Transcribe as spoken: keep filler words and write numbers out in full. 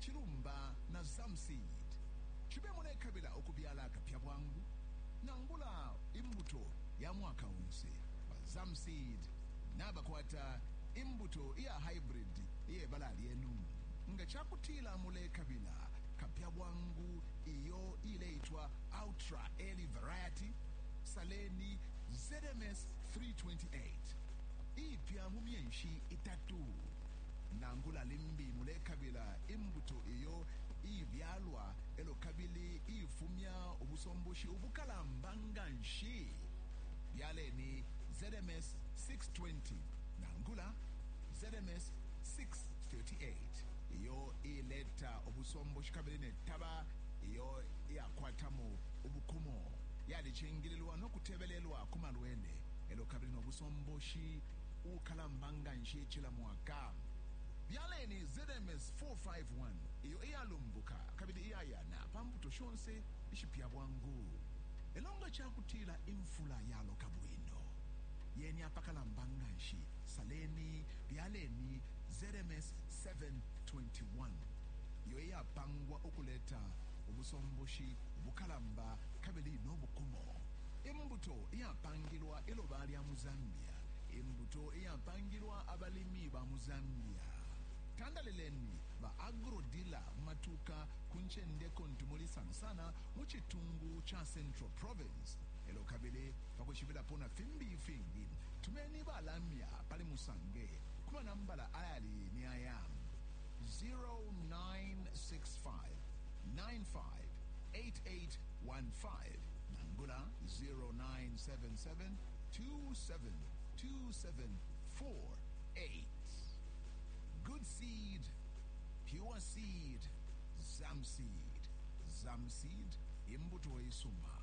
Chilumba na Zamseed. Chibe mulekabila ukubyala akapya bwangu nangula imbuto ya mwaka onse. Ba Zamseed nabakwata imbuto iya hybrid iyebala lyenu. Nga chakutila mulekabila kapya bwangu iyo ileitwa ultra early variety saleni Z M S three twenty-eight ipya mu myenshi itatu. Nangula limbi mulekabila imbuto iyo ibyalwa elo kabili ifumya ubusomboshi ubukalamba nganshi, byaleni Z M S six twenty nangula Z M S six thirty-eight iyo ileta ubusomboshi kabili netaba iyo iyakwatamo ubukumo, yalicingililwa nokutebelelwa ku malwele elo kabili nobusomboshi ukalamba nganshi cila mwaka. Byaleni Z M S four fifty-one iyo iyalumbuka kabili iyayana pa mbuto shonse ishipya bwangu. Elo nga chakutila imfula yaloka bwino yeni apakalamba nganshi, saleni byaleni Z M S seven twenty-one iyo iyapangwa ukuleta ubusomboshi ubukalamba kabili nobukumo. Imbuto iyapangilwa iloba lya mu Zambia, imbuto iyapangilwa abalimi ba mu Zambia. Tandalileni ba agro-dealer matuka ku ncende kontu muli, sana sana mu chitungu cha Central Province. Elo kabili pakushibilapo na fimbi ifingi, tumeni balamya pali musange ku manambala ayali ni aya: zero nine six five nine five eight eight one five nangula zero nine seven seven two seven two seven four eight. Good seed, pure seed, Zamseed. Zamseed, imbuto isuma.